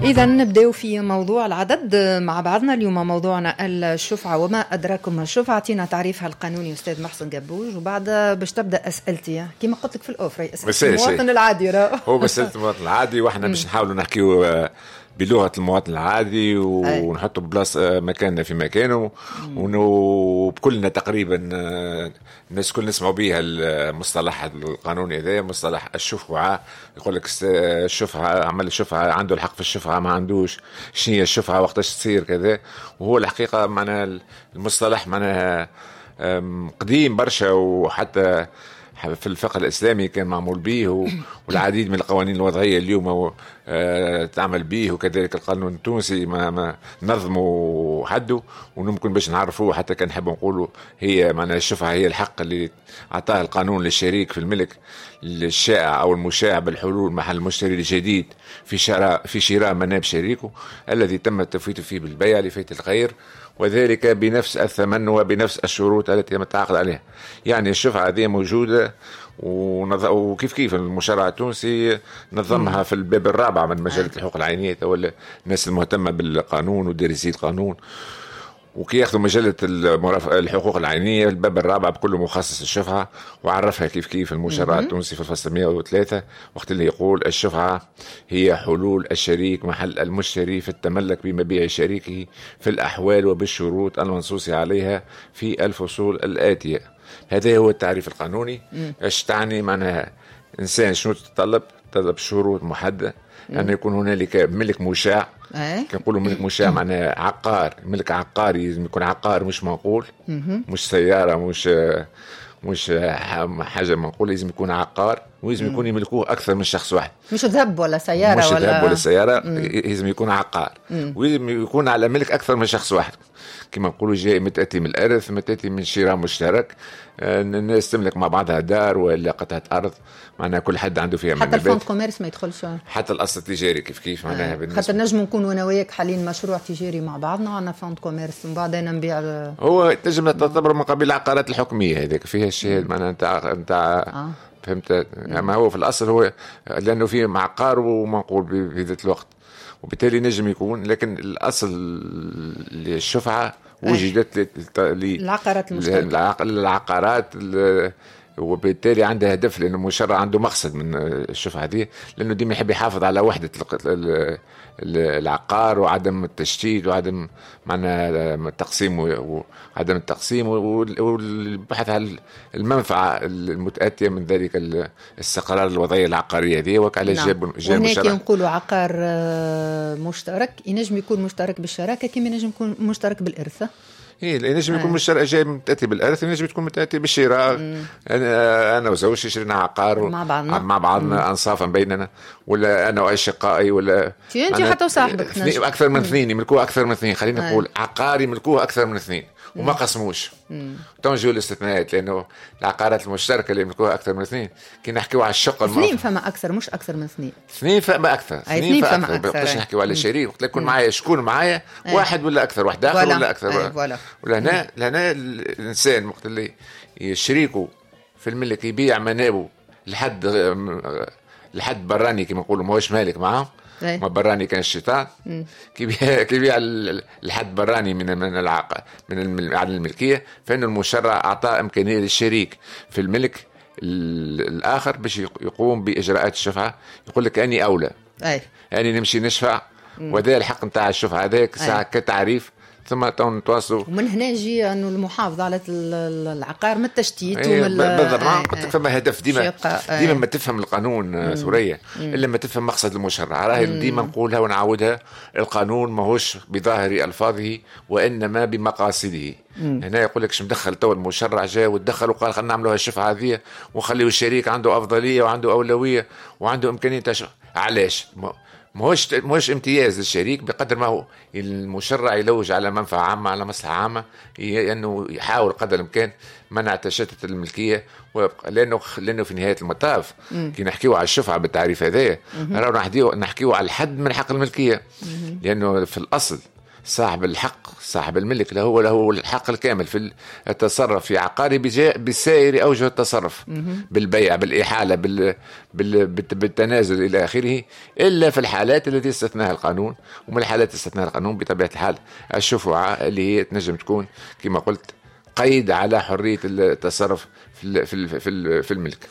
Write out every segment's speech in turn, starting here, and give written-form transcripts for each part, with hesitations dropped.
إذا نبداو في موضوع العدد مع بعضنا اليوم. موضوعنا الشفعة وما أدراكم الشفعة. أعطينا تعريفها القانوني أستاذ محسن قبوج، وبعد باش تبدأ أسئلتي كما قلت لك في الأوفر، أسئلة المواطن العادي. هو بس المواطن العادي، وإحنا باش نحاولوا نحكيو بلغة المواطن العادي ونحطوا بلاص مكاننا في مكانه، وبكلنا تقريبا الناس كل نسمعوا بها المصطلح القانوني هذا، مصطلح الشفعة. يقول لك الشفعة، عمل الشفعة، عنده الحق في الشفعة، ما عندوش، شنو هي الشفعة، وقتاش تصير كذا. وهو الحقيقة معناها المصطلح معناها قديم برشا، وحتى في الفقه الإسلامي كان معمول به، والعديد من القوانين الوضعية اليوم تعمل به، وكذلك القانون التونسي ما نظمه حده، وممكن باش نعرفوه حتى كان نحب نقولوا هي معناها الشفعة هي الحق اللي أعطاه القانون للشريك في الملك الشائع أو المشاع بالحلول محل المشتري الجديد في شراء مناب شريكه الذي تم التفويت فيه بالبيع لفيت الغير، وذلك بنفس الثمن وبنفس الشروط التي تم التعاقد عليها. يعني الشفعة هذه موجودة، وكيف كيف المشرع التونسي نظمها في الباب الرابع من مجلة الحقوق العينية، ولا الناس المهتمة بالقانون ودارسي القانون، وكي ياخذوا مجلة الحقوق العينية الباب الرابع بكله مخصص الشفعة، وعرفها كيف كيف المشرع التونسي في الفصل 103 وقت اللي يقول الشفعة هي حلول الشريك محل المشتري في التملك بمبيع شريكه في الأحوال وبالشروط المنصوص عليها في الفصول الآتية. هذا هو التعريف القانوني. ايش تعني معناها إنسان شنو تتطلب؟ تطلب شروط محددة، أن يكون هنالك ملك مشاع. كنقولوا ملك مشاع معناها عقار، ملك عقاري، لازم يكون عقار مش منقول، مش سيارة، مش حاجة منقولة، لازم يكون عقار، ولازم يكون يملكوه أكثر من شخص واحد، مش ذهب ولا سيارة، مش ذهب ولا سيارة، لازم يكون عقار، ولازم يكون على ملك أكثر من شخص واحد. كما نقولوا جاي متأتي من الإرث، متأتي من شراء مشترك، الناس تملك مع بعضها دار ولا قطعة أرض، معناها كل حد عنده فيها. حتى ال fonds commerce ما يدخلش، حتى الأصل التجاري كيف كيف معناها. خاطر نجم نكون أنا وياك حالين مشروع تجاري مع بعضنا، عندنا fonds commerce ومن بعد أنا نبيع. هو تنجم تعتبر من قبيل العقارات الحكمية هذيك فيها الشيء معناها نتاع فهمت. ما هو في الأصل هو لأنه فيه عقار ومنقول في ذات الوقت، وبالتالي نجم يكون، لكن الأصل للشفعة وجدت للعقارات المشتركة، العقارات، وبالتالي عندها هدف، لأنه المشرع عنده مقصد من الشفعة دي، لأنه ديما يحب يحافظ على وحدة العقار وعدم التشتيت وعدم معنى التقسيم وعدم التقسيم والبحث عن المنفعة المتأتية من ذلك الاستقرار الوضعية العقارية دي. وعلى جاب هناك نقولوا عقار مشترك، ينجم يكون مشترك بالشراكة كما ينجم يكون مشترك بالإرث. إيه، ينجم يكون مشترك جاي متأتي بالإرث، ينجم تكون متأتي بالشراء. أنا وزوجتي شرينا عقار مع بعضنا أنصافا بيننا، ولا أنا وأشقائي، ولا أنت حتى وصاحبك، أكثر من اثنين يملكوه أكثر من اثنين، خلينا نقول عقار يملكوه أكثر من اثنين وما قسموش. تنجو الاستثناءات، لأنه العقارات المشتركة اللي يملكوها أكثر من اثنين، كي نحكيو على الشقة اثنين فما أكثر، مش أكثر من اثنين، اثنين فما أكثر، اثنين فما أكثر. باش نحكيو على شريك وقت يكون معايا شكون معايا، واحد ولا أكثر، واحد آخر ولا أكثر. ولا هنا الإنسان وقت اللي شريكه في الملك يبيع منابه لحد براني كما نقولوا، ماهوش مالك معاه، ما براني كان الشيطان، كيبيع لحد براني من العقد من عدم الملكية، فإن المشرع أعطى إمكانية للشريك في الملك الآخر باش يقوم بإجراءات الشفعة. يقول لك أني أولى، أني نمشي نشفع، وهذا الحق نتاع الشفعة هذاك ساعة كتعريف، ثم نتواصلوا. ومن هنا يجي انه المحافظة على العقار من التشتيت. بالضبط. قلت لك فما هدف ديما، ديما ما تفهم القانون ثريا الا ما تفهم مقصد المشرع. راهي ديما نقولها ونعاودها، القانون ماهوش بظاهر الفاظه وانما بمقاصده. هنا يقول لك مدخل تو المشرع جاء وتدخل وقال خلينا نعملوها الشفعة هذه ونخليو الشريك عنده افضلية وعنده اولوية وعنده امكانية. علاش؟ ماهوش امتياز للشريك بقدر ما هو المشرع يلوج على منفعة عامة، على مصلحة عامة، انه يحاول قدر الامكان منع تشتت الملكية، لانه في نهاية المطاف كي نحكيو على الشفعة بالتعريف هذايا راهو نحكيو على الحد من حق الملكية، لانه في الاصل صاحب الحق، صاحب الملك له الحق الكامل في التصرف في عقاره بسائر اوجه التصرف، بالبيع، بالاحاله، بالتنازل الى اخره، الا في الحالات التي استثناها القانون. ومن الحالات استثناها القانون بطبيعة الحال الشفعة اللي هي تنجم تكون كما قلت قيد على حرية التصرف في الملك.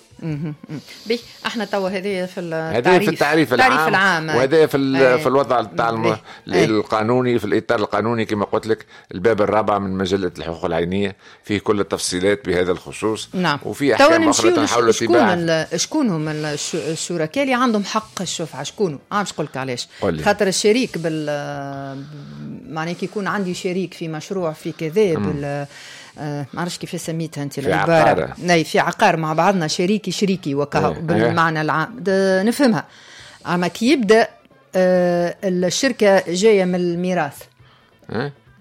به احنا توا هذه في التعريف، في التعريف العام، وهذا في الوضع تاع القانوني، في الاطار القانوني كما قلت لك الباب الرابع من مجلة الحقوق العينية فيه كل التفصيلات بهذا الخصوص. نعم. وفي احكام اخرى تنحاول اتباعها. شكون هم الشركاء اللي عندهم حق الشفعة؟ شكون؟ باش نقول لك علاش. خاطر الشريك معناه كي يكون عندي شريك في مشروع في كذا ما عرفش كيف سميتها انت العبارة، ناي في عقار مع بعضنا، شريكي شريكي وكهو بالمعنى العام نفهمها. اما كي يبدا الشركة جاية من الميراث،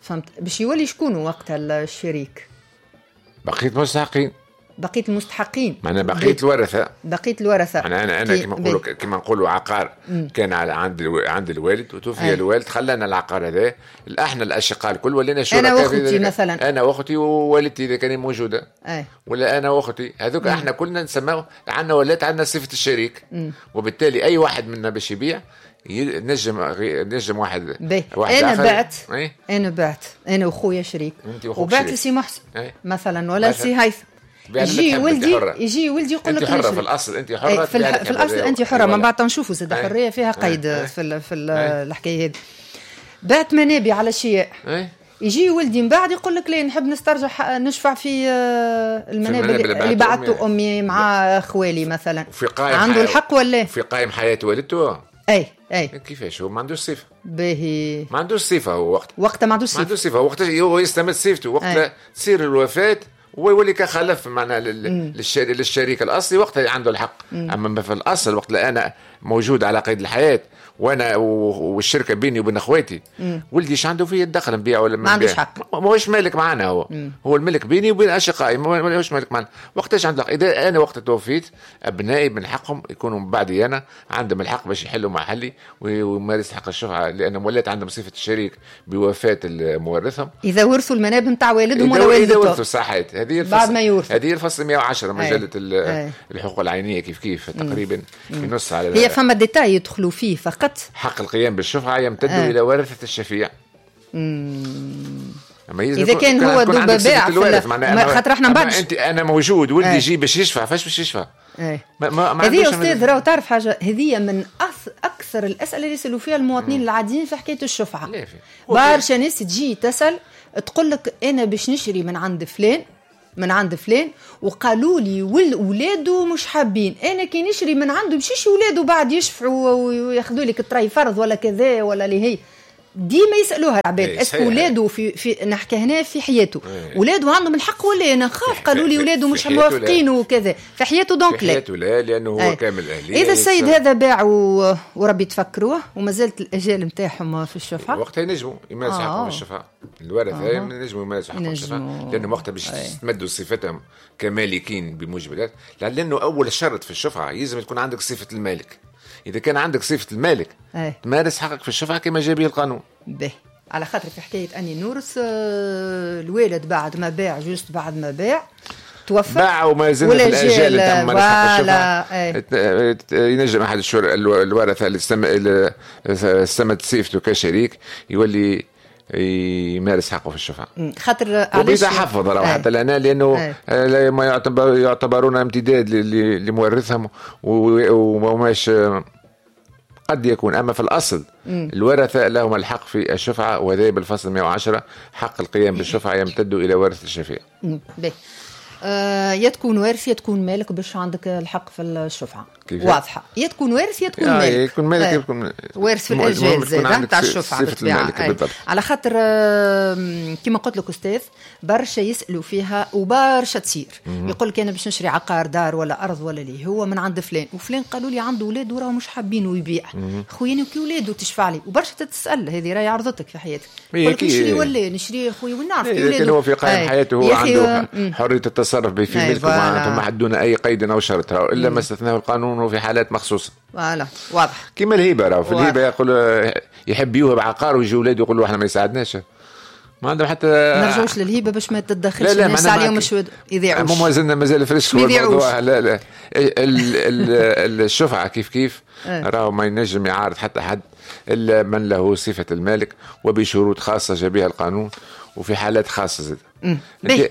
فهمت، باش يولي شكون وقتها الشريك؟ بقية المستحقين. بقية المستحقين معناها بقية الورثة. بقية الورثة معناها انا كما نقولوا عقار كان على عند الوالد وتوفي الوالد، خلانا العقار هذا احنا الاشقاء الكل ولينا شركاء. انا واختي مثلا، انا واختي ووالدتي اذا كانت موجودة، ولا انا واختي، هذوك احنا كلنا نسموه عندنا، ولات عندنا صفة الشريك. وبالتالي اي واحد منا باش يبيع نجم واحد. انا بعت، انا بعت انا وخويا شريك، وبعت لسي محسن مثلا ولا سي هيثم، يجي ولدي يقول لك انت حره في الاصل، انت حره في الاصل، انت حره. من بعد نشوفوا زاد حرية فيها قيد في الحكاية هذه. بعت منابي على شيء، يجي ولدي من بعد يقول لك ليه نحب نسترجع نشفع في المنابي اللي بعته امي مع خوالي مثلا. في قائم عنده الحق ولا في قائم حياة والدته؟ اي اي كيفاش هو ما عندوش صفة؟ باهي ما عندوش صفة هو وقتها ما عندوش صفة، ما عندوش صفة وقت هو يستمد صفته وقت تصير الوفاة ويولي كخلف معناها للشريك الاصلي، وقتها عنده الحق. اما في الاصل وقت انا موجود على قيد الحياة وانا والشركة بيني وبين اخواتي، ولدي ايش عنده فيه الدخل نبيع ولا ما عندوش حق، ماهوش مالك معنا هو. هو الملك بيني وبين اشقائي، ماهوش مالك معنا. وقتاش عنده الحق؟ اذا انا وقت توفيت ابنائي من حقهم يكونوا من بعدي انا، عندهم الحق باش يحلوا محلي ويمارس حق الشفعة، لان ولات عندهم صفة الشريك بوفاة مورثهم. اذا ورثوا المناب نتاع والدهم ولا والدتهم، اذا ورثوا صحيت. هذه بعد ما يورثوا، هذه الفصل 110 مجلة الحقوق العينية كيف كيف تقريبا ينص على هي فما détail يدخلوا فيه فقط. حق القيام بالشفعة يمتد إلى ورثة الشفيع. إذا كان هو دوب باع خاطر احنا من بعد أنت أنا موجود ولدي يجي باش يشفع، فاش باش يشفع؟ هذه يا أستاذ راهو تعرف حاجة، هذه من أكثر الأسئلة اللي يسألوا فيها المواطنين العاديين في حكاية الشفعة. برشا ناس تجي تسأل تقول لك أنا باش نشري من عند فلان، من عند فلان، وقالوا لي ولاده مش حابين، انا كي نشري من عنده مشيش ولاده بعد يشفعوا وياخذوا لك الطري فرض ولا كذا ولا اللي هي ديما يسالوها العباد est-ce que ولاده في نحكي هنا في حياته ولاده عندهم الحق ولا انا خاف قالوا لي ولاده مش موافقين وكذا في حياته donc لا، في حياته لا، لانه هو كامل اهليه. اذا السيد هذا باع وربي تفكروه وما زالت الاجال نتاعهم في الشفعة، وقتها ينجموا يمارسوا حقهم في الشفعة، الورثة ينجموا يمارسوا حقهم في الشفعة، لانه وقتها باش يستمدوا صفتهم كمالكين بموجب، لانه اول شرط في الشفعة لازم تكون عندك صفة المالك. إذا كان عندك صفة المالك تمارس حقك في الشفعة كما جاء به القانون. به على خاطر في حكاية أني نورث الوالد بعد ما باع، juste بعد ما باع توفى باع وما زال في الأجال تم مارس حق الشفعة، ينجم أحد الورثة اللي استمد صفته كشريك يولي يمارس حقه في الشفعة. خاطر وبيتحفظ راه حتى لنا، لأنه ما يعتبرون امتداد لمورثهم وماش قد يكون. أما في الأصل الورثة لهم الحق في الشفعة، وهذا بالفصل 110 حق القيام بالشفعة يمتد إلى ورث الشفيع. يا تكون وارث يا تكون مالك باش عندك الحق في الشفعة. واضحة، يا تكون وارث يا تكون مالك، يكون مالك يكون وارث في الأجال زاد تاع الشفعة بالطبيعة. على خاطر كما قلت لك أستاذ برشا يسألوا فيها وبرشا تصير، يقول لك أنا باش نشري عقار دار ولا أرض ولا لي هو من عند فلان، وفلان قالوا لي عنده ولاد وراه مش حابينه يبيع، خويا وكي ولاده تشفع لي، وبرشا تتسأل هذه راهي عرضتك في حياتك، يقول لك نشري ولا نشري خويا ونعرف كي ولاده هو في قائم حياته هو عنده حرية التصرف في ملكه، ما دون أي قيد أو شرط إلا ما استثناه القانون القانون وفي حالات مخصوصة. voilà واضح. كيما الهبة، راهو في الهبة يقول يحب يوهب عقار ويجي ولاده يقول له احنا ما يساعدناش، ما عندهم حتى. نرجعوش للهبه باش ما تتدخلش الناس عليهم مش يضيعوش. مازلنا مازال fraîche الموضوع. لا لا الشفعة كيف كيف راهو ما ينجم يعارض حتى حد الا من له صفة المالك وبشروط خاصة جابها القانون وفي حالات خاصة زاد.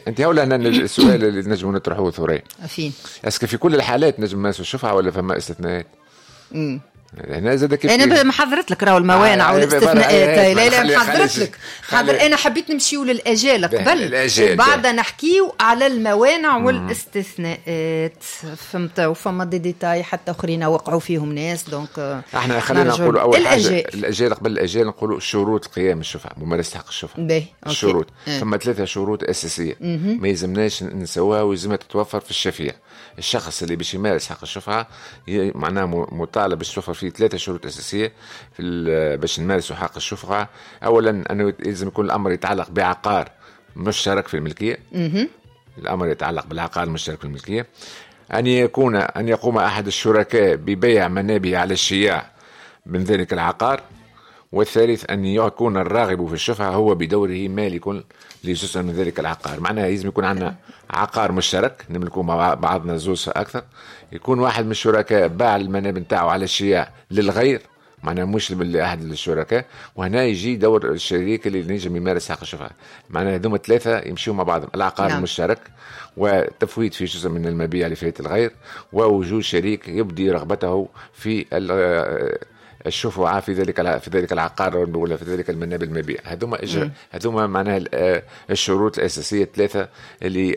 انت هنا السؤال اللي نجم نطرحوه ثريا، فين est-ce que في كل الحالات نجم نمارسوا الشفعة ولا فما استثناءات؟ هنا زاد كيف انا محضرت لك راهو الموانع والاستثناءات. لا لا محضرت لك حاضر. انا حبيت نمشيو للاجال قبل وبعد نحكيو على الموانع والاستثناءات، فهمت؟ وفما des détails حتى اخرين وقعوا فيهم ناس، donc احنا خلينا نقولوا اول حاجة الاجال. قبل الاجال نقولوا شروط قيام الشفعة، ممارسة حق الشفعة. الشروط فما 3 شروط اساسية ما يلزمناش نسوها ويلزمها تتوفر في الشفيع. الشخص اللي باش يمارس حق الشفعة معناه مطالب باش توفر فيه 3 شروط أساسية في باش نمارسوا حق الشفعة. أولا أنه لازم يكون الأمر يتعلق بعقار مشترك في الملكية. الأمر يتعلق بالعقار المشترك في الملكية. أن يقوم أحد الشركاء ببيع منابه على الشياع من ذلك العقار. والثالث أن يكون الراغب في الشفعة هو بدوره مالك لجزء من ذلك العقار. معناها لازم يكون عندنا عقار مشترك نملكه مع بعضنا زوز أكثر، يكون واحد من الشركاء باع المناب نتاعو على الشياع للغير، معناها مش لأحد الشركاء، وهنا يجي دور الشريك اللي نجم يمارس حق الشفعة. معناها هذوما 3 يمشيوا مع بعضهم: العقار المشترك، وتفويت في جزء من المبيع لفائدة الغير، ووجود شريك يبدي رغبته في الشفعة في ذلك العقار ولا في ذلك المناب المبيع. هذوما معناها الشروط الأساسية 3 اللي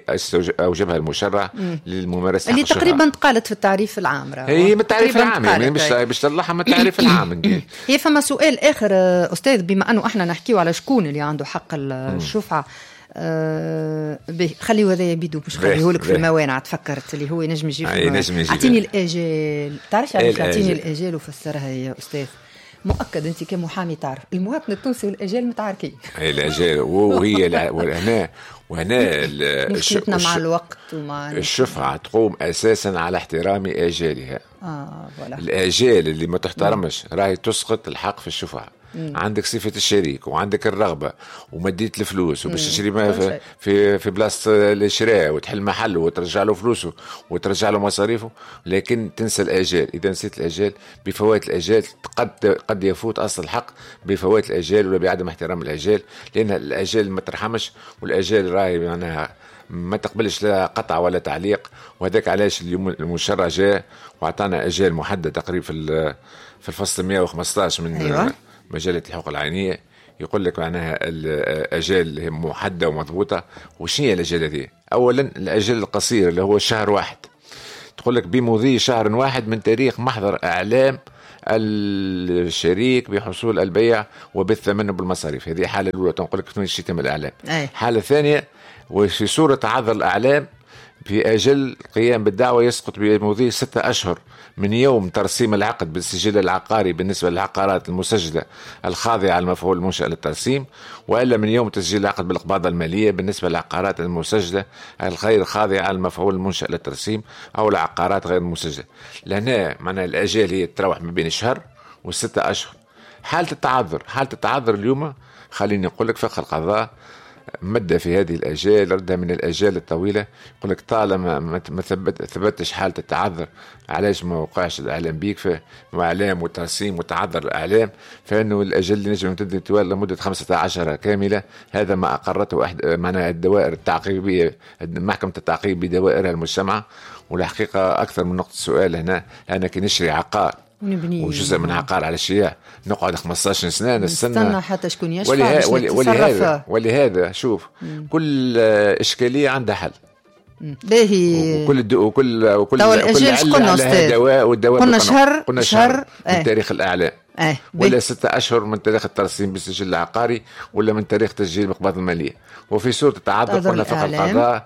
أوجبها المشرع للممارسة اللي تقريبا تقالت في التعريف العام. هي من التعريف العام، يعني مش باش تطلعها من التعريف العام. هي فما سؤال آخر أستاذ، بما أنه احنا نحكيو على شكون اللي عنده حق الشفعة، خليه هذا يبيدو باش خليه لك في الموانع. تفكرت اللي هو ينجم يجي. اعطيني الاجال، تعرفش علاش اعطيني الاجال وفسرها يا استاذ؟ مؤكد انت كمحامي تعرف المواطن التونسي والاجال متعاركين. اي الاجال وهي وهنا مشكلتنا مع الوقت ومع الشفعة تقوم اساسا على احترام اجالها. voilà. الاجال اللي ما تحترمش راهي تسقط الحق في الشفعة. عندك صفة الشريك وعندك الرغبة ومديت الفلوس وباش تشري ما في بلاصة الشراء وتحل محل وترجع له فلوسه وترجع له مصاريفه، لكن تنسى الآجال. إذا نسيت الآجال بفوات الآجال قد يفوت أصل الحق بفوات الآجال ولا بعدم احترام الآجال، لأن الآجال ما ترحمش، والآجال راهي معناها ما تقبلش لا قطع ولا تعليق. وهذاك علاش اليوم المشرع جاء وعطانا آجال محددة تقريبا في الفصل 115 من أيوة. مجلة الحقوق العينية، يقول لك معناها الأجال محددة ومضبوطة. وشنو هي الأجال هذه؟ أولا الأجل القصير اللي هو شهر واحد، تقول لك بمضي شهر واحد من تاريخ محضر إعلام الشريك بحصول البيع وبالثمن وبالمصاريف. هذه حالة الأولى تنقول لك في يتم الإعلام. حالة ثانية وفي صورة تعذر الإعلام في أجل القيام بالدعوة يسقط بمضي 6 أشهر من يوم ترسيم العقد بالسجل العقاري بالنسبة للعقارات المسجلة الخاضعة للمفعول المنشأ للترسيم، وإلا من يوم تسجيل العقد بالإقباض المالية بالنسبة للعقارات المسجلة الغير خاضعة للمفعول المنشأ للترسيم أو العقارات غير المسجلة. لهنا معناها الأجال هي تروح ما بين شهر و6 أشهر. حالة التعذر، حالة التعذر اليوم خليني نقول لك فقه القضاء مدة في هذه الأجال، ردها من الأجال الطويلة. يقول لك طالما ما ثبتش حالة التعذر، علاش ما وقعش الإعلام بيك في إعلام وترسيم وتعذر الإعلام، فإنه الأجل اللي نجم يمتد طوال لمدة 15 كاملة. هذا ما أقرته أحد معناها الدوائر التعقيبية، محكمة التعقيب بدوائرها المجتمعة. والحقيقة أكثر من نقطة سؤال هنا، أنا كي نشري عقار وجزء من عقار على الشياع نقعد 15 سنة نستنى حتى شكون يشفع. ولهذا شوف كل إشكالية عندها حل. باهي. وكل وكل وكل قلنا دواء، والدواء قلنا شهر من تاريخ الإعلام ولا 6 أشهر من تاريخ الترسيم بالسجل العقاري ولا من تاريخ تسجيل مقبض المالية. وفي صورة التعذر قلنا فقه القضاء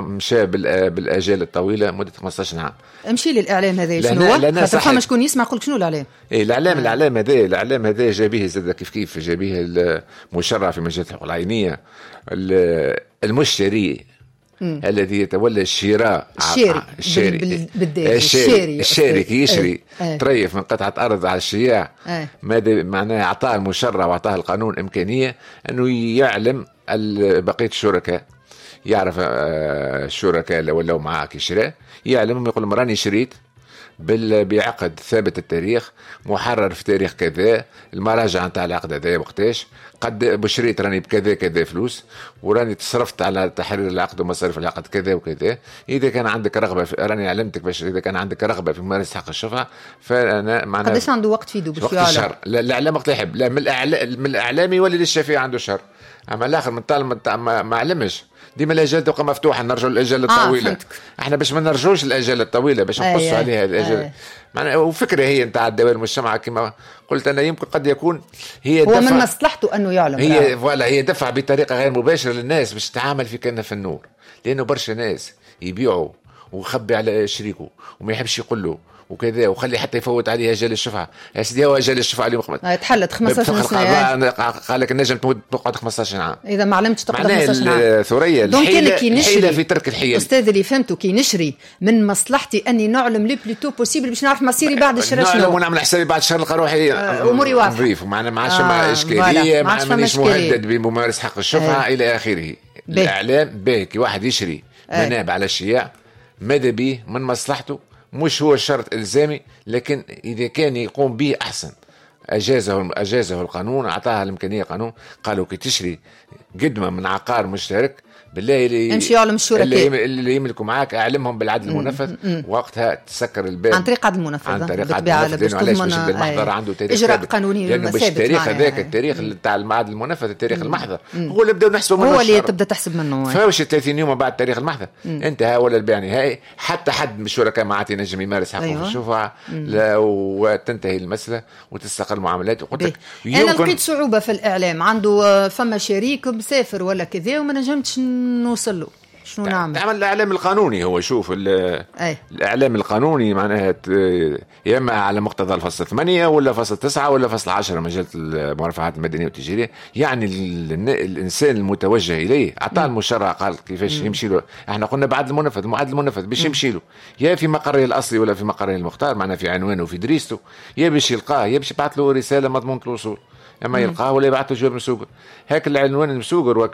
مشى بالآجال الطويلة مدة 15 عام. امشي للإعلام هذا شنو هو؟ خاطر فما شكون يسمع يقول شنو الإعلام؟ إيه الإعلام، الإعلام هذا، الإعلام هذا جابيه زاد كيف كيف جابيه المشرع في مجلة الحقوق العينية. المشتري الذي يتولى الشراء، الشاري الشاري كي يشري تريف من قطعة أرض على الشياع، ماذا معناها؟ أعطاه المشرع وأعطاه القانون إمكانية أنه يعلم بقية الشركاء، يعرف الشركاء اللي ولاو معاه كي شراء، يعلمهم يقول لهم راني شريت بعقد ثابت التاريخ، محرر في تاريخ كذا، المراجعة نتاع العقد هذا وقتاش، قد بشريت راني بكذا كذا فلوس، وراني تصرفت على تحرير العقد ومصاريف العقد كذا وكذا. إذا كان عندك رغبة راني علمتك باش إذا كان عندك رغبة في ممارسة حق الشفعة فأنا معناها قداش عنده وقت في باش وقت الشهر؟ لا الإعلام وقت يحب، لا من الإعلام يولي للشفيع عنده شهر، أما الآخر من طالما ما علمش ديما الاجال تبقى مفتوحة، نرجعوا للاجال الطويلة. احنا باش ما نرجعوش الاجال الطويلة باش نقصوا عليها الاجال. معناها وفكره هي نتاع الدوائر المجتمع كما قلت انا، يمكن قد يكون هي هو من مصلحته انه يعلم، هي voilà هي دفع بطريقة غير مباشرة للناس باش تتعامل في كأنها في النور، لانه برشا ناس يبيعوا ويخبي على شريكه وما يحبش يقول له وكذا، وخلي حتى يفوت عليه اجل الشفعة. يا سيدي هو اجل الشفعة اليوم تحلت 15 سنة، قال لك النجم تقعد 15 عام اذا ما علمتش تقعد 15 عام. الثريا الحيلة في ترك الحيل. استاذ اللي فهمته كي نشري من مصلحتي اني نعلم le plus tôt possible باش نعرف مصيري بعد الشراء شنو، نعلم ونعمل حسابي بعد الشهر نلقى روحي اموري واضحة نظيف، ومعنا ما عادش مع اشكالية، ما مانيش مهدد بممارسة حق الشفعة الى اخره. الاعلام باهي كي واحد يشري مناب على الشياع ماذا به من مصلحته، مش هو شرط إلزامي، لكن إذا كان يقوم به أحسن. أجازه القانون، أعطاها الإمكانية القانون، قالوا كي تشري قدمة من عقار مشترك بالله اللي امشي يعلم الشركاء اللي يملكوا معاك، اعلمهم بالعدل المنفذ، وقتها تسكر الباب عن طريق عدل المنفذ، عن طريق عدل المنفذ. علاش؟ باش المحضر عنده تاريخ اجراء قانوني لانه باش التاريخ هذاك التاريخ تاع العدل المنفذ، التاريخ المحضر هو اللي بداو نحسبوا منه، هو اللي تبدا تحسب منه. فاوش 30 يوم بعد تاريخ المحضر انتهى ولا البيع نهائي، حتى حد من الشركاء ما عاد ينجم يمارس حقه في الشفعة، وتنتهي المسالة وتستقر المعاملات. وقلت لك انا لقيت صعوبة في الاعلام، عنده فما شريك مسافر ولا كذا وما نجمتش نوصل له، شنو نعمل؟ تعمل الاعلام القانوني. هو شوف الاعلام القانوني معناها يا اما على مقتضى الفصل 8 ولا فصل 9 ولا فصل 10 مجلة المرافعات المدنية والتجاريه، يعني الانسان المتوجه اليه اعطاه المشرع قال كيفاش يمشي له. احنا قلنا بعد المنفذ، المعد المنفذ باش يمشي له يا في مقره الاصلي ولا في مقره المختار، معناها في عنوانه وفي دريسته، يا باش يلقاه يا باش يبعث له رسالة مضمونه الوصول، اما يلقاه ولا يبعث له جواب مسوقر. هاك العنوان المسوقر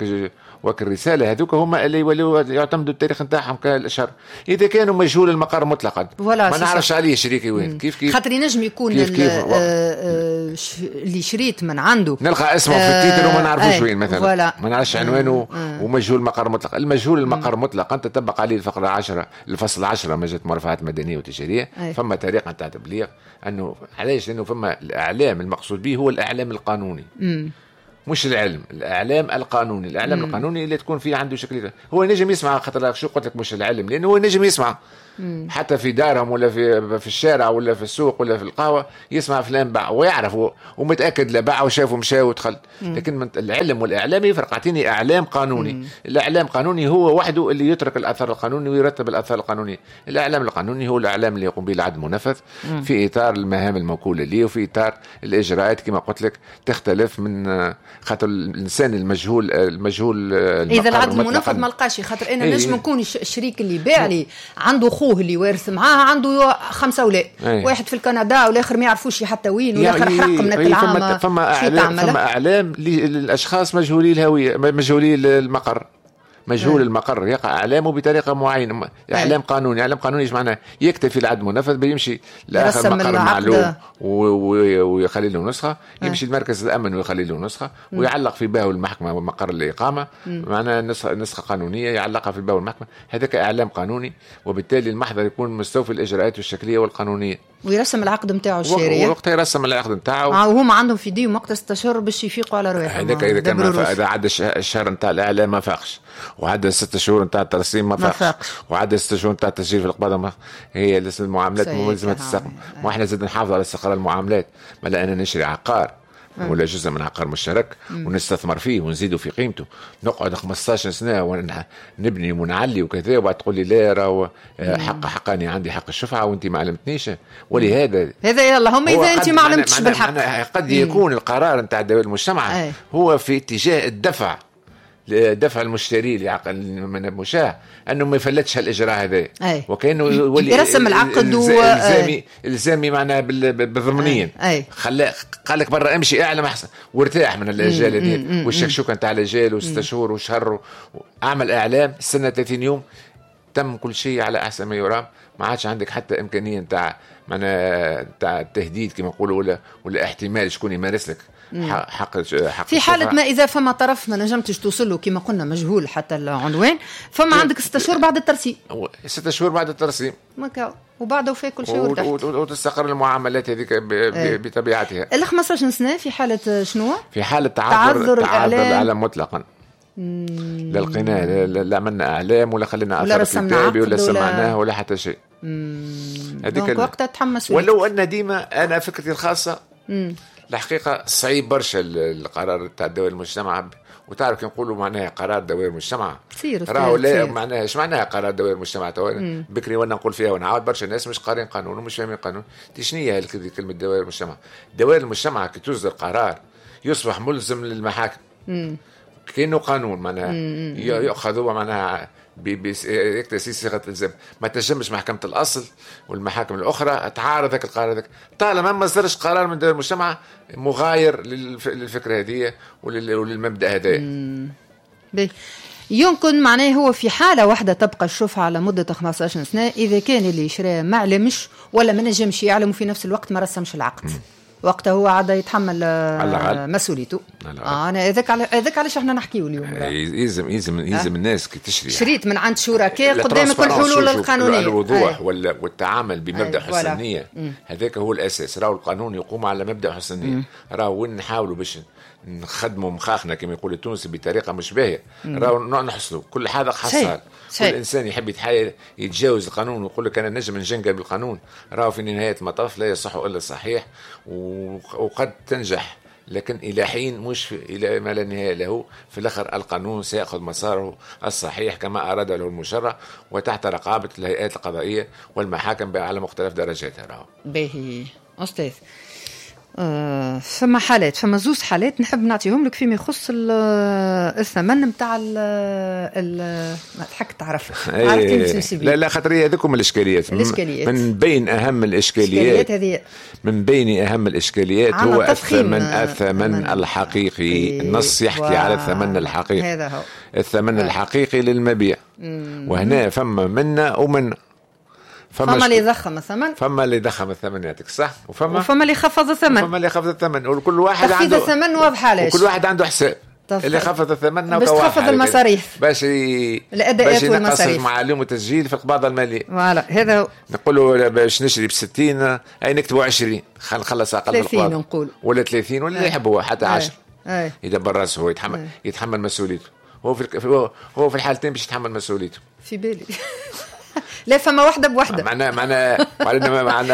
وك الرسالة هذوك هما اللي يولوا يعتمدوا التاريخ نتاعهم كالاشهر. اذا كانوا مجهول المقر مطلقا ما نعرفش عليه شريكي وين، كيف كيف خاطر ينجم يكون كيف كيف اللي شريت من عنده نلقى اسمه في ال titre وما نعرفوش وين مثلا، ما نعرفش عنوانه ومجهول المقر مطلق. المجهول المقر مطلقا تطبق عليه الفقرة 10 الفصل 10 مجلة المرافعات المدنية والتجاريه. فما طريقه نتاع تبليغ انه علاش؟ لانه فما الاعلام المقصود به هو الاعلام القانوني، مش العلم، الاعلام القانوني. الاعلام القانوني اللي تكون فيه عنده شكل هو نجم يسمع، خاطر شو قلت لك مش العلم، لانه هو نجم يسمع حتى في دارهم ولا في الشارع ولا في السوق ولا في القهوة، يسمع فلان باع ويعرف ومتاكد لا باع وشاف ومشى ودخل. لكن من العلم والاعلام يفرق. اعطيني اعلام قانوني. الاعلام القانوني هو وحده اللي يترك الاثر القانوني ويرتب الاثر القانوني. الاعلام القانوني هو الاعلام اللي يقوم به العدل المنفذ في اطار المهام الموكوله ليه وفي اطار الاجراءات كما قلت لك تختلف من خاطر الانسان المجهول اذا العدل المنفذ ما لقاش، خاطر انا نجم نكون الشريك اللي باع لي عنده خوه اللي وارث معاه عنده 5 اولاد، واحد في الكندا والاخر ما يعرفوش حتى وين، والاخر حرق من العام. فما اعلام للاشخاص مجهولي الهوية، مجهولي المقر، مجهول المقر يقع اعلامه بطريقة معينة. اعلام قانوني. اعلام قانوني ايش معناه؟ يكتفي العدل المنفذ بيمشي لاخر مقر معلوم ويخلي له نسخه، يمشي لمركز الامن ويخلي له نسخه، ويعلق في باه المحكمة ومقر الاقامة، معناها نسخه قانونية يعلقها في باه المحكمة. هذاك اعلام قانوني، وبالتالي المحضر يكون مستوفي الاجراءات الشكليه والقانونيه، ويرسم العقد نتاعو الشارع وقتها يرسم العقد نتاعو، وهما عندهم في ديهم وقت 6 اشهر باش يفيقوا على رواحهم. هذاك اذا كان اذا عدى الشهر نتاع الاعلام ما فاقش، وعدى 6 شهور نتاع الترسيم ما فاقش، وعدى 6 شهور نتاع التسجيل في القباضه ما هي المعاملات ملزمة تستقم. واحنا زاد نحافظ على استقرار المعاملات، ما لأننا نشري عقار ولا جزء من عقار مشترك ونستثمر فيه ونزيدوا في قيمته، نقعد 15 سنة ونبني ونعلي وكذا، وبعد تقول لي لا راهو حق حقاني عندي حق الشفعة وانت ما علمتنيش. ولهذا هذا اللهم اذا انت ما علمتش بالحق قد يكون القرار نتاع دول المجتمع هو في اتجاه الدفع لدفع المشتري لعقد من المشاع انه ما يفلتش هالاجراء هذا، وكانه يولي يرسم العقد الزامي معناها بالضمنيا. خلى قال لك برا امشي اعلم احسن وارتاح من الاجال هذه والشكشوكه نتاع الاجال وست شهور وشهر، اعمل اعلام استنى 30 يوم تم كل شيء على احسن ما يرام، ما عادش عندك حتى امكانية نتاع معناها نتاع التهديد كما نقولوا ولا احتمال شكون يمارس لك حق في حالة ما إذا فما طرف ما نجمتش توصل له كما قلنا مجهول حتى العنوان، فما عندك 6 شهور بعد الترسيم. 6 شهور بعد الترسيم وبعده في كل شيء وتستقر المعاملات هذيك بطبيعتها. ال 15 سنة في حالة شنو؟ في حالة تعذر الإعلام مطلقا. لا لقيناه، لا عملنا اعلام ولا خلينا اثر كتابي ولا سمعناه ولا حتى شيء. هذيك وقتها تحمس. ولو ان ديما انا فكرتي الخاصة الحقيقة صعيب برشا القرار تاع دوائر المجتمع، وتعرف كي نقولوا معناها قرار دوائر المجتمع راهو لا معناها ايش معناها قرار دوائر المجتمع؟ تو بكري وانا نقول فيها ونعاود برشا ناس مش قارين قانون ومش فاهمين قانون. شنو هي كلمة دوائر المجتمع؟ دوائر المجتمع كي تصدر قرار يصبح ملزم للمحاكم، كأنه قانون معناها يأخذ معناها يكتسي صيغة الإلزام. ما تنجمش محكمة الأصل والمحاكم الأخرى تعارض ذاك القرار هذاك طالما ما صدرش قرار من دول المجتمع مغاير للفكرة هذه وللمبدأ هذا. يمكن معناه هو في حالة واحدة تبقى الشفعة على مدة 15 سنة إذا كان اللي شراه ما علمش ولا ما نجمش يعلم وفي نفس الوقت ما رسمش العقد. وقتها هو عاد يتحمل مسؤوليته. انا هذاك علاش احنا نحكيو اليوم. يلزم يلزم يلزم الناس كي تشري شريت من عند شركاء قدامك الحلول القانونية، الوضوح والتعامل بمبدا حسن النية، هذاك هو الاساس. راهو القانون يقوم على مبدا حسن النية. راهو وين نحاولوا باش نخدموا مخاخنا كما يقول التونسي بطريقة مش باهيه، راهو نحصلوا كل حاجة حصل. كل انسان يحب يتحايل يتجاوز القانون ويقول لك انا نجم نجنقل بالقانون، راهو في نهاية المطاف لا يصح الا الصحيح، وقد تنجح لكن الى حين مش الى ما لا نهاية له. في الاخر القانون سيأخذ مساره الصحيح كما اراد له المشرع وتحت رقابه الهيئات القضائية والمحاكم على مختلف درجاتها. راهو باهي استاذ. فما حالات، فما زوز حالات نحب نعطيهم لك فيما يخص الثمن نتاع ما تضحك تعرف. لا لا خاطر هذوكم الاشكاليات. من بين اهم الاشكاليات هذه، من بين اهم الاشكاليات هو الثمن الحقيقي. النص يحكي على الثمن الحقيقي، هذا هو الثمن الحقيقي للمبيع. وهنا فما منا ومنا، فما اللي ضخم الثمن، فما اللي ضخم الثمن يعطيك صح، وفما اللي خفض الثمن، وفما اللي خفض الثمن. وكل واحد عنده الثمن واضح علاش، وكل واحد عنده حساب. اللي خفض الثمن باش تخفض المصاريف، باش الاداءات والمصاريف معلوم التسجيل في القباضه المالية. voilà هذا نقولوا باش نشري ب 60 اي نكتبوا 20 خلينا نخلص اقل 30 نقول ولا 30 ولا اللي يحب هو حتى 10. يدبر راسه هو، يتحمل مسؤوليته. هو في الحالتين باش يتحمل مسؤوليته. في بالي لا فما واحدة بوحده.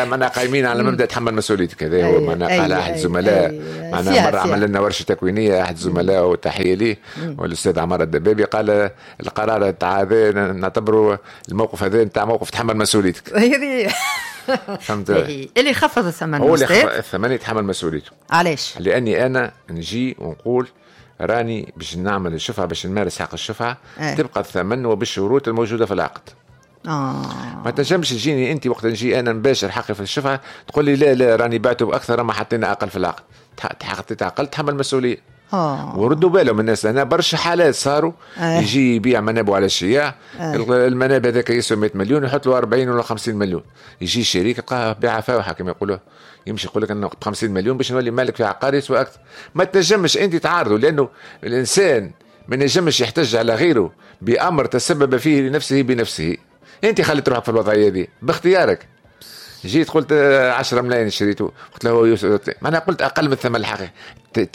معنا قايمين على مبدا تحمل مسؤوليتك. هذا هو معنا قال احد الزملاء، معنا مرة عمل لنا ورشه تكوينيه احد الزملاء وتحية ليه والاستاذ عمار الدبابي، قال القرار تاع هذا نعتبره الموقف هذا نتاع موقف تحمل مسؤوليتك. هذه فهمت. اللي خفض الثمن هو اللي خفض الثمن يتحمل مسؤوليته. علاش؟ لاني انا نجي ونقول راني باش نعمل الشفعة، باش نمارس حق الشفعة، تبقى الثمن وبالشروط الموجودة في العقد. ما تنجمش تجيني انت وقت نجي انا نباشر حقي في الشفعة تقول لي لا لا راني بعته باكثر ما حطينا اقل في العقد. حطيت اقل تحمل مسؤولية. وردوا بالهم الناس، لان برشا حالات صاروا يجي يبيع منابه على الشياع، المناب هذاك يسوى 100 مليون يحط له 40 ولا 50 مليون، يجي شريك يلقاها بيعه فاوحه كما يقولوا، يمشي يقول لك انا 50 مليون باش نولي مالك في عقار يسوى اكثر. ما تنجمش انت تعارضه، لانه الانسان ما نجمش يحتج على غيره بامر تسبب فيه لنفسه بنفسه. انت خليت روحك في الوضعية دي باختيارك. جيت قلت 10 ملايين شريته، قلت له يوسف معناها قلت اقل من الثمن الحقيقي. تي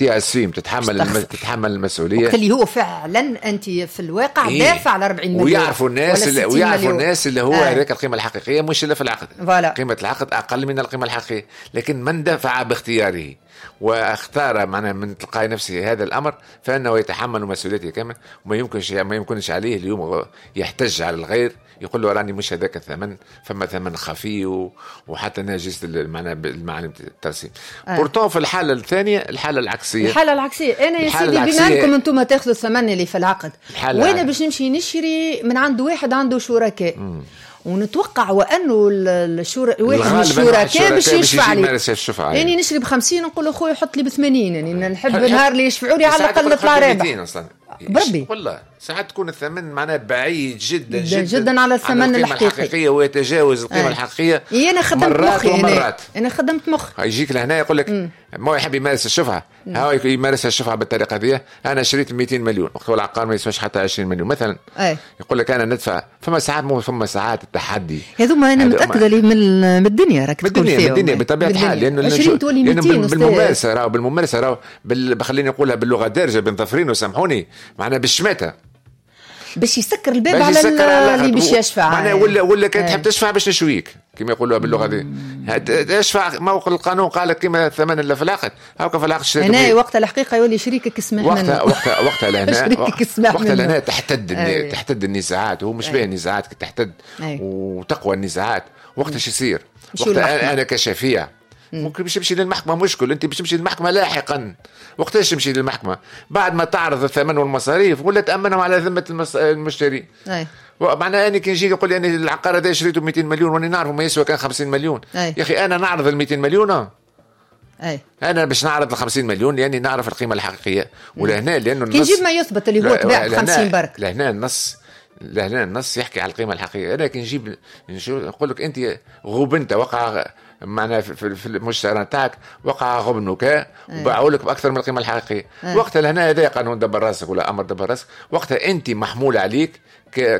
تتحمل المسؤولية وقت اللي هو فعلا انت في الواقع دافع على 40 مليون. ويعرفوا الناس اللي ويعرفوا الناس اللي هو هذاك القيمة الحقيقية مش اللي في العقد. voilà. قيمة العقد اقل من القيمة الحقيقية، لكن من دفع باختياره واختار معناها من تلقاء نفسه هذا الامر فانه يتحمل مسؤوليته كامل، وما يمكنش عليه اليوم يحتج على الغير يقول له راني مش هذاك الثمن، فما ثمن خفي وحتى ناجزه معناها المعالم الترسيم. pourtant في الحالة الثانية، الحالة العكسيه، الحالة العكسيه انا يا سيدي بما انكم انتم تاخذوا الثمن اللي في العقد، وانا باش نمشي نشري من عند واحد عنده شركاء، ونتوقع وانه واحد من الشركاء باش يشفع لي، يعني نشري ب50 نقول له خويا حط لي ب80، يعني نحب نهار اللي يشفعوا لي على الاقل نطلع رابح بربي. والله ساعات تكون الثمن معناه بعيد جدا جدا جدا على الثمن الحقيقي ويتجاوز القيمة الحقيقية. انا خدمت مخي، انا خدمت مخي. يجيك لهنا يقول لك ما يحب يمارس الشفعة، هاو يمارس الشفعة بالطريقة دي. انا شريت 200 مليون وقت العقار ما يسواش حتى 20 مليون مثلا. يقول لك انا ندفع. فما ساعات فما ساعات التحدي هذوما انا متاكدة لي من الدنيا راك تكون فيهم، من الدنيا بطبيعة الحال، لانه 20 تولي 200 بالممارسة راهو، بالممارسة راهو خليني نقولها باللغة الدارجة بين ظفرين وسامحوني، معناها بالشماته باش يسكر الباب على اللي باش يشفع، معناها ولا كان تحب تشفع باش نشويك كما يقولوها باللغة دي. اشفع موقع القانون قال لك كما الثمن اللي في العقد، هاكا في العقد شريت هنا وقت الحقيقة يولي شريكك اسمح منه، وقتها لهنا وقتها لهنا تحتد النزاعات، وهو مش باهي النزاعات تحتد وتقوى النزاعات. وقتها شو يصير؟ وقتها انا كشفيع ممكن باش تمشي للمحكمة، مشكل انت باش تمشي للمحكمة لاحقا. وقتاش تمشي للمحكمة؟ بعد ما تعرض الثمن والمصاريف ولا تامنهم على ذمه المشتري. معناها انا كي نجي يقول لي انا العقار هذا شريته ب 200 مليون وانا نعرفه ما يسوى كان 50 مليون. يا اخي انا نعرض ال 200 مليون. انا باش نعرض ال 50 مليون لاني نعرف القيمة الحقيقية. ولهنا لانه النص كي نجيب ما يثبت اللي هو تباع ب 50 برك، لهنا النص يحكي على القيمة الحقيقية. انا كي نجيب نقول لك انت غبنت، وقع معناها في المشترى نتاعك وقع غبنك وباعوا لك باكثر من القيمة الحقيقية. وقتها لهنا هذا قانون دبر راسك ولا امر دبر راسك. وقتها انت محمول عليك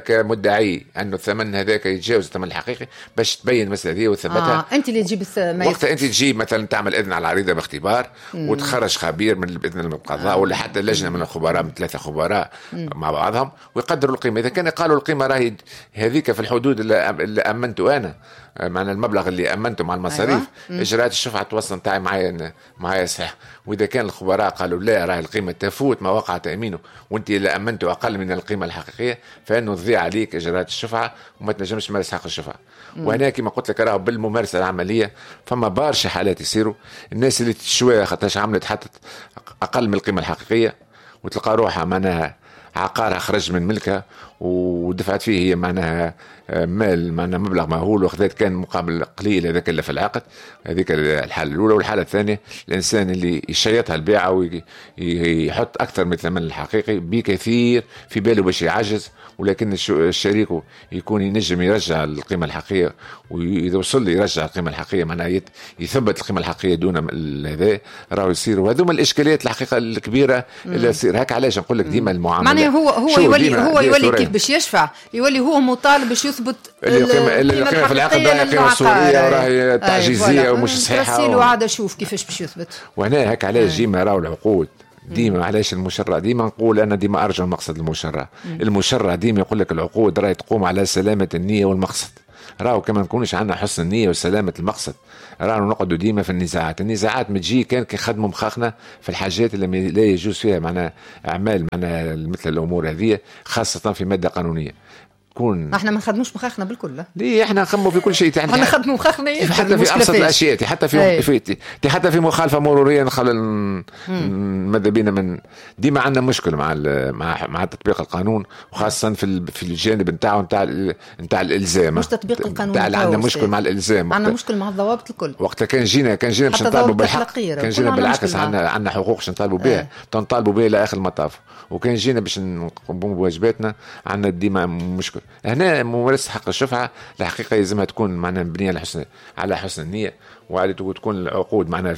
كمدعي انه الثمن هذاك يتجاوز الثمن الحقيقي باش تبين المسالة هذه وتثبتها. انت اللي تجيب وقتها انت تجيب مثلا تعمل اذن على العريضة باختبار وتخرج خبير من باذن من القضاء ولا حتى لجنة من الخبراء، من 3 خبراء مع بعضهم، ويقدروا القيمة. اذا كان قالوا القيمة راهي هذيك في الحدود اللي امنته انا، معنى المبلغ اللي امنته مع المصاريف، اجراءات الشفعة توصل نتاعي معايا صحيح. واذا كان الخبراء قالوا لا راهي القيمة تفوت ما وقع تامينه وانت اللي امنته اقل من القيمة الحقيقية، فانه تضيع عليك اجراءات الشفعة وما تنجمش تمارس حق الشفعة. وهنا كما قلت لك راهو بالممارسة العملية فما برشا حالات يصيروا الناس اللي تشويها خاطرش عملت حتى اقل من القيمة الحقيقية وتلقى روحها معناها عقارها خرج من ملكها ودفعت فيه هي معناها مال، معناها مبلغ مهول، وخذت كان مقابل قليل هذاك اللي في العقد. هذيك الحالة الأولى. والحالة الثانية الإنسان اللي يشيطها البيعة ويحط أكثر من الثمن الحقيقي بكثير في باله باش يعجز، ولكن الشريك يكون ينجم يرجع القيمة الحقيقية، وإذا وصل يرجع القيمة الحقيقية معناها يثبت القيمة الحقيقية دون هذا راهو يصير. وهذوما الإشكاليات الحقيقة الكبيرة اللي تصير. هاك علاش نقول لك ديما المعاملة معناها هو يولي كيف باش يشفع، يولي هو مطالب باش يثبت القيمة في العقد راهي قيمة صورية وراهي تعجيزية ومش صحيحة، وعاد أشوف كيفاش باش يثبت. وهنا هاك علاش ديما راهو العقود ديما علاش المشرع ديما نقول انا ديما ارجع مقصد المشرع. المشرع ديما يقول لك العقود راهي تقوم على سلامة النية والمقصد. راهو كما نكونش عندنا حسن النية وسلامة المقصد راهو نقعدوا ديما في النزاعات. النزاعات متجي كان كي خدموا مخاخنا في الحاجات اللي لا يجوز فيها معناها اعمال معناها مثل الامور هذه، خاصة في مادة قانونية. كون احنا ما نخدموش مخاخنا بالكل. ليه احنا نخموا في كل شيء، احنا نخدموا مخاخنا حتى في ابسط الاشياء، حتى في حتى في مخالفة مروريه نخل ماذا بينا من ديما عندنا مشكل مع مع تطبيق القانون، وخاصة في الجانب نتاعو نتاع الالزام. مش تطبيق القانون، عندنا مشكل مع الالزام، عندنا مشكل مع الضوابط الكل. وقتها كان جينا باش نطالبوا بالحق، كان جينا بالعكس عندنا حقوق باش نطالبوا بها، تنطالبوا بها الى اخر المطاف. وكان جينا باش نقوموا بواجباتنا عندنا ديما مشكل. هنا ممارسة حق الشفعة الحقيقة يلزمها تكون معناها مبنية على حسن النية، وعلى تكون العقود معناها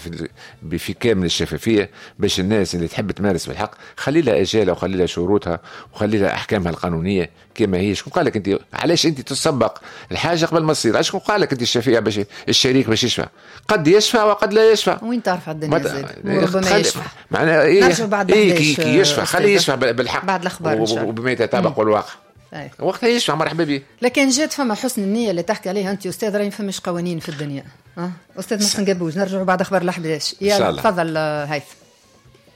في كامل الشفافية، باش الناس اللي تحب تمارس بالحق خلي لها اجالها وخلي لها شروطها وخلي لها احكامها القانونية كما هي. شكون قال لك انت علاش انت تسبق الحاجة قبل ما تصير؟ علاش شكون قال لك انت الشفيع باش الشريك باش يشفع؟ قد يشفع وقد لا يشفع. وين تعرف على الدنيا زاد ربما يشفع معناها ايه كي يشفع خليه يشفع بالحق بعد الاخبار وبما يتطابق والواقع. وقتها يشفع مرحبا به. لكن جات فما حسن النية اللي تحكي عليها أنت أستاذ، راهي ما فماش قوانين في الدنيا. أستاذ محسن قبوج، نرجع بعد أخبار ال11. يلا تفضل هيثم.